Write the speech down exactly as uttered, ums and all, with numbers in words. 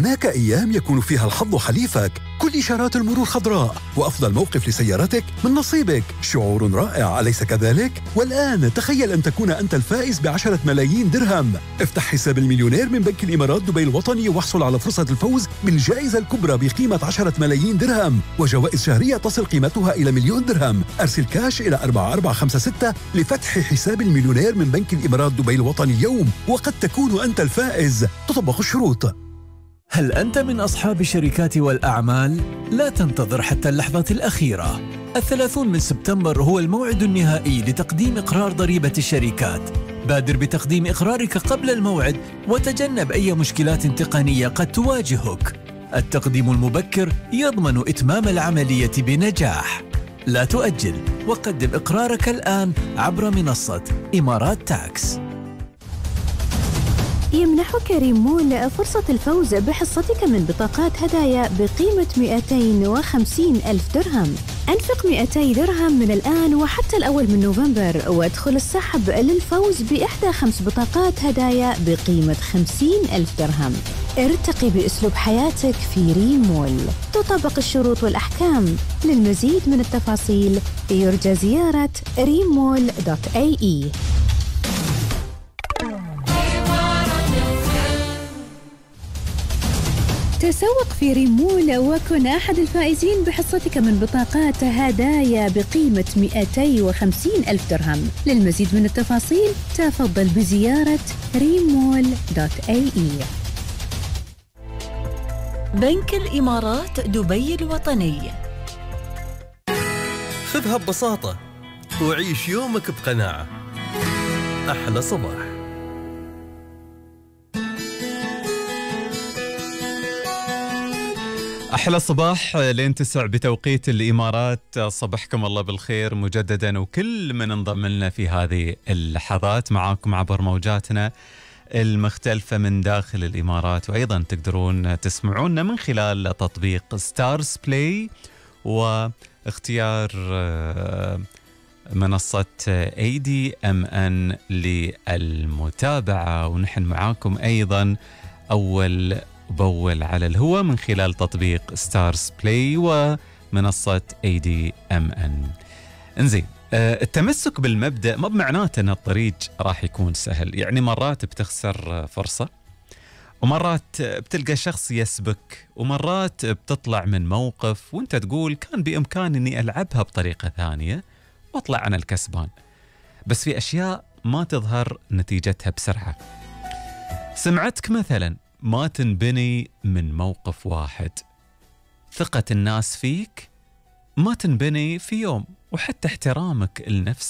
هناك أيام يكون فيها الحظ حليفك، كل إشارات المرور خضراء، وأفضل موقف لسيارتك من نصيبك. شعور رائع، أليس كذلك؟ والآن تخيل أن تكون أنت الفائز بعشرة ملايين درهم. افتح حساب المليونير من بنك الإمارات دبي الوطني واحصل على فرصة الفوز بالجائزة الكبرى بقيمة عشرة ملايين درهم، وجوائز شهرية تصل قيمتها إلى مليون درهم. أرسل كاش إلى أربعة أربعة خمسة ستة لفتح حساب المليونير من بنك الإمارات دبي الوطني اليوم، وقد تكون أنت الفائز. تطبق الشروط. هل أنت من أصحاب الشركات والأعمال؟ لا تنتظر حتى اللحظة الأخيرة. الثلاثون من سبتمبر هو الموعد النهائي لتقديم إقرار ضريبة الشركات. بادر بتقديم إقرارك قبل الموعد وتجنب أي مشكلات تقنية قد تواجهك. التقديم المبكر يضمن إتمام العملية بنجاح. لا تؤجل وقدم إقرارك الآن عبر منصة إمارات تاكس. يمنحك ريمول فرصة الفوز بحصتك من بطاقات هدايا بقيمة مئتين وخمسين ألف درهم. أنفق مئتي درهم من الآن وحتى الأول من نوفمبر وادخل السحب للفوز بإحدى خمس بطاقات هدايا بقيمة خمسين ألف درهم. ارتقي بأسلوب حياتك في ريمول. تطبق الشروط والأحكام. للمزيد من التفاصيل يرجى زيارة ريمول دوت اي اي. تسوق في ريمول وكن أحد الفائزين بحصتك من بطاقات هدايا بقيمة مئتين وخمسين ألف درهم. للمزيد من التفاصيل تفضل بزيارة ريمول دوت اي اي. بنك الإمارات دبي الوطني. خذها ببساطة وعيش يومك بقناعة. أحلى صباح. أحلى صباح لين تسع بتوقيت الإمارات. صبحكم الله بالخير مجددا، وكل من انضم لنا في هذه اللحظات معاكم عبر موجاتنا المختلفة من داخل الإمارات، وأيضا تقدرون تسمعونا من خلال تطبيق ستارز بلاي واختيار منصة اي دي ام ان للمتابعة. ونحن معاكم أيضا أول بول على الهواء من خلال تطبيق ستارز بلاي ومنصة اي دي ام ان. انزين، التمسك بالمبدأ ما بمعناته أن الطريق راح يكون سهل. يعني مرات بتخسر فرصة، ومرات بتلقى شخص يسبك، ومرات بتطلع من موقف وانت تقول كان بإمكاني أني ألعبها بطريقة ثانية واطلع أنا الكسبان. بس في أشياء ما تظهر نتيجتها بسرعة. سمعتك مثلا ما تنبني من موقف واحد. ثقة الناس فيك ما تنبني في يوم، وحتى احترامك لنفسك